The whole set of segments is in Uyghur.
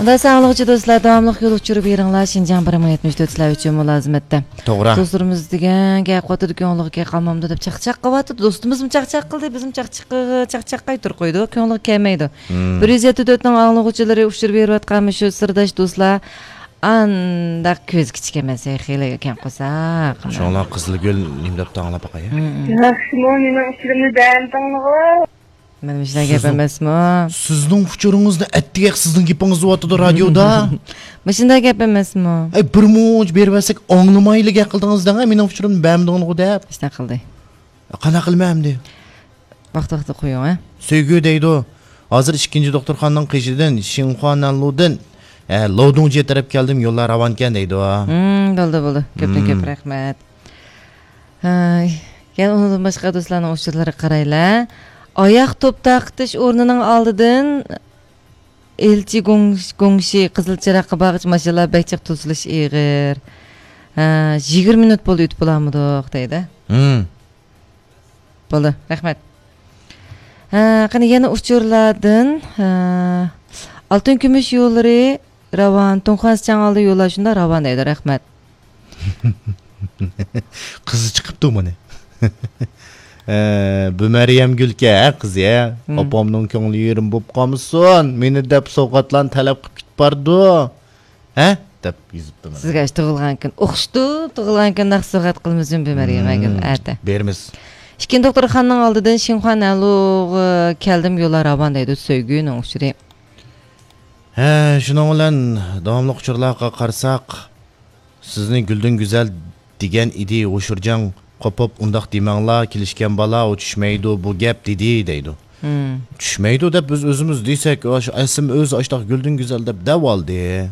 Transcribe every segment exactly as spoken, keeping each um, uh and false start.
خۇدا ساقلىغۇچى دوستلار، داۋاملىق يول ئۇچۇرى بېرىڭلار. شىنجاڭ بىر مىڭ يەتمىش تۆت سىلەر ئۈچۈن مۇلازىمەتتە. توغرا. دوستلىرىمىز دېگەن گەپ قاتىدۇ، كۆڭلىگە كەپ قالمامدۇ دەپ چاقچاق قىلىۋاتىدۇ. دوستىمىزمۇ چاقچاق قىلدى، بىزمۇ چاقچاق، چاقچاق قايتۇرۇپ قويدۇق. كۆڭلىگە كەلمەيدۇ. مم. بىر يۈز يەتتە تۆتنىڭ ئاڭلىغۇچىلىرى ئۇچۇر بېرىۋاتقان مۇشۇ سىرداش دوستلار ئانداق كۆزى كىچىك ئەمەس، ھەي، خېلى كەڭ قورساق. شۇڭلار قىزىلگۈل نېمە دەپتۇ ئاڭلاپ باقاي. مم. ياخشىمۇ، مېنىڭ ئۇچۇرۇمنى بەرمىدىڭلىغۇ؟ مانا مۇشۇنداق گەپ سىزنىڭ، ئەمەسمۇ؟ سىزنىڭ ئۇچۇرىڭىزنى ئەتتىگەك سىزنىڭ گېپىڭىز دەۋاتىدۇ رادىيودا. مۇشۇنداق گەپ ئەمەسمۇ؟ ئەي، بىر مۇنچە بېرىۋەرسەك ئاڭلىمايلا گەپ قىلدىڭىز دەڭە، مېنىڭ ئۇچۇرۇمنى بەرمىدىڭلىغۇ دەپ. شۇنداق قىلدى. قانداق قىلىمەن ئەمدى؟ ۋاقتى ۋاقتىدا قويۇڭ، ھە؟ سۆيگۈ دەيدۇ. ھازىر ئىككىنچى دوختۇرخانىنىڭ قېشىدىن، شىنخۇا نەنلۇدىن، ئە، لودۇڭجيې تەرەپ كەلدىم، يوللار راۋانكەن دەيدۇ. مم، بولدى، بولدى. كۆپتىن كۆپ رەھمەت. ھاي، يەنە ئۇنىڭدىن باشقا دوستلارنىڭ ئۇچۇرلىرىغا قارايلى. ئاياق توپ تارقىتىش ئورنىنىڭ ئالدىدىن ئىلچى گۇڭ-، گۇڭشى قىزىل چىراغقا بارغىچە ماشىنىلار بەك جىق توسۇلۇش ئېغىر. ھە، يىگىرمە مىنۇت بولدى ئۆتۈپ بولالمىدۇق دەيدۇ. مم. بولدى، رەھمەت. ھە، قېنى يەنە ئۇچۇرلاردىن، ھە، ئالتۇن كۈمۈش يوللىرى راۋان، تۇڭخۇەن سىچاڭ ئالدى يوللار شۇنداق راۋان دەيدۇ، رەھمەت. قىزى چىقىپتۇ مانا. ئە، بۇ مەريەم گۈلكە، ھە، قىزى، ھە؟ مم. ئاپامنىڭ كۆڭلى يېرىم بوپ قالمىسۇن، مېنى دەپ سوۋغاتلارنى تەلەپ قىلىپ كېتىپ بارىدۇ. ھە؟ دەپ يېزىپتۇ مانا. سىزگە ئاشۇ تۇغۇلغان كۈن، ئوخشىتىپ تۇغۇلغان كۈن ناخشا سوۋغات قىلمىسۇن بۇ مەريەم گۈل، مم، ئەتە. بېرىمىز. ئىككىنچى دوختۇرخانىنىڭ ئالدىدىن شىنخۇا نەنلۇغا كەلدىم، يوللار راۋان دەيدۇ، سۆيگۈنىڭ ئۇچۇرى. ھە، شۇنىڭ بىلەن داۋاملىق ئۇچۇرلارغا قارىساق، سىزنى گۈلدىن گۈزەل دېگەن ئىدى، ھوشۇرجاڭ قوپۇپ، ئۇنداق دېمەڭلار، كېلىشكەن بالا، ئۇ چۈشمەيدۇ بۇ گەپ دېدى دەيدۇ. مم. چۈشمەيدۇ دەپ بىز ئۆزىمىز دېسەك، ئاشۇ ئەسلىم ئۆزى ئاشتاق گۈلدىن گۈزەل دەپ دەۋالدى.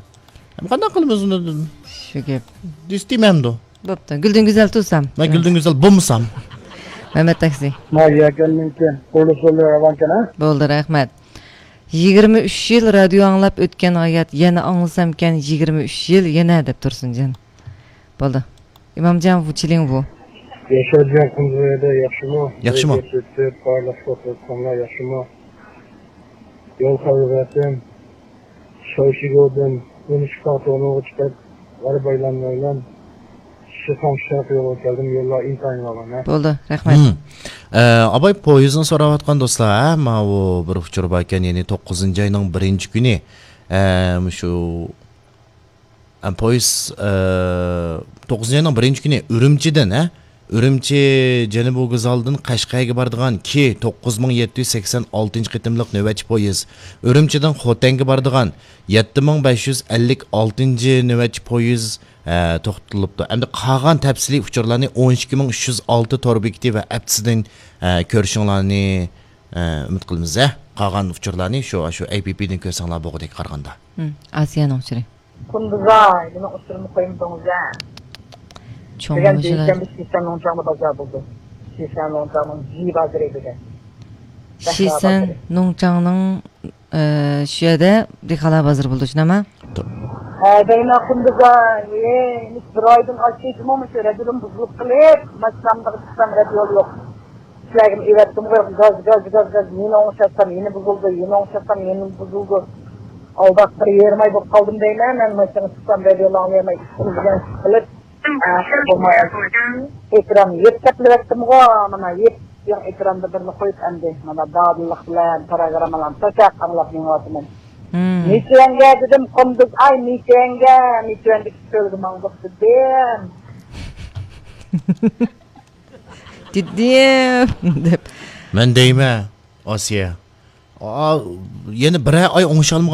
ھەم قانداق قىلىمىز ئۇنى؟ شۇ گەپ. دېسە دېمەمدۇ؟ بوپتۇ. گۈلدىن گۈزەل تۇرسام. مەن گۈلدىن گۈزەل بولمىسام. مەمەت تاكسى. ما يەكەننىڭكى قۇرۇلۇش يولى راۋانكەن، ھە؟ بولدى، رەھمەت. يىگىرمە ئۈچ يىل رادىيو ئاڭلاپ ئۆتكەن ھايات، يەنە ئاڭلىسامكەن يىگىرمە ئۈچ يىل يەنە دەپ تۇرسۇنجان. بولدى. ئىمامجان ۋۇچىلىڭ ۋۇ. ياشارجان قۇمزۇ يەردە ياخشىمۇ؟ ياخشىمۇ؟ بارلىق دوستلار ياخشىمۇ؟ يول خەۋىرى بەرسۇن. شاۋشىگودىن ئون ئۈچ تاغ تونۇغا چىقىپ، غەرب ئايلانما ئايلان، شىخاڭ شەرق يولىغا كەلدىم، يوللار ئىنتايىن راۋان، ھە. بولدى، رەھمەت. ھىم. ئە، ئاباي پويىزنى سوراۋاتقان دوستلار، ھە، ماۋۇ بىر ئۇچۇر باركەن، يەنى توققۇزىنچى ئاينىڭ بىرىنچى كۈنى، ئە، مۇشۇ، ئە، پويىز، ئە، توققۇزىنچى ئاينىڭ بىرىنچى كۈنى ئۈرۈمچىدىن، ھە، ئۈرۈمچى جەنۇبىي ۋوگزالىدىن قەشقەرگە بارىدىغان كى توققۇز مىڭ يەتتە يۈز سەكسەن ئالتىنچى قېتىملىق نۆۋەتچى پويىز، ئۈرۈمچىدىن خوتەنگە بارىدىغان يەتتە مىڭ بەش يۈز ئەللىك ئالتىنچى نۆۋەتچى پويىز، ئە، توختىتىلىپتۇ. ئەمدى قالغان تەپسىلىي ئۇچۇرلارنى ئون ئىككى مىڭ ئۈچ يۈز ئالتە تور بېكىتى ۋە ئەپسىدىن، ئە، كۆرۈشۈڭلارنى، ئە، ئۈمىد قىلىمىز، ھە. قالغان ئۇچۇرلارنى شۇ، شۇ ئەي پى پىدىن كۆرسەڭلار بولغۇدەك قارىغاندا. ھىم، ئاسىيانىڭ ئۇچۇرى. قۇندۇزاي، مېنىڭ ئۇچۇرۇمنى قويمىدىڭىز ھە. چوڭ بۈگۈن مۇشۇلار. دۈشەنبە شىسەن نۇڭچاڭدا بازار بولىدۇ. شىسەن نۇڭچاڭنىڭ جى بازىرى بۈگۈن. شىسەن نۇڭچاڭنىڭ، ئى، شۇ يەردە دېھقانلار بازىرى بولىدۇ، شۇنداقمۇ؟ ھە، دەيمەن قۇندۇزاي، ئى، بىر ئايدىن ئاشتى جۇمۇ مۇشۇ رەدىدىن بۇزۇلۇپ قېلىپ، ماشىنامدا چىقسام رەد يول يوق. سىلەرگىمۇ ئېۋەتتىمغۇ، گاز، گاز، گاز، گاز، يەنە ئوڭشاتسام، يەنە بۇزۇلدى، يەنە ئوڭشاتسام، يەنە بۇزۇلدى. ئالداپ بىر يېرىم ئاي بولۇپ قالدىم دەيمەن، مەن ماشىنىغا چىقسام، رادىيونى ئاڭلىيالماي، ئىشىم بىلەن ئىش قىلىپ، ئە، بولمايۋاتىمەن. ئېكران يېپىپ تەپلىۋەتتىمغۇ، مانا يېپىپ، ئېكراندا بىرنى قويۇپ ئەمدى، مانا دادىللىق بىلەن پىروگراممىلارنى چاچاق ئاڭلاپ مېڭىۋاتىمەن. مم. مىچۈەنگە دېدىم، قۇندۇز، ئاي، مىچۈەنگە، مىچۈەندىكى چۆلگە ماڭدۇق دېدىم. دېدىم، دەپ. مەن دەيمەن، ئاسىيە. ئا، يەنە بىرەر ئاي ئوڭشالمىغان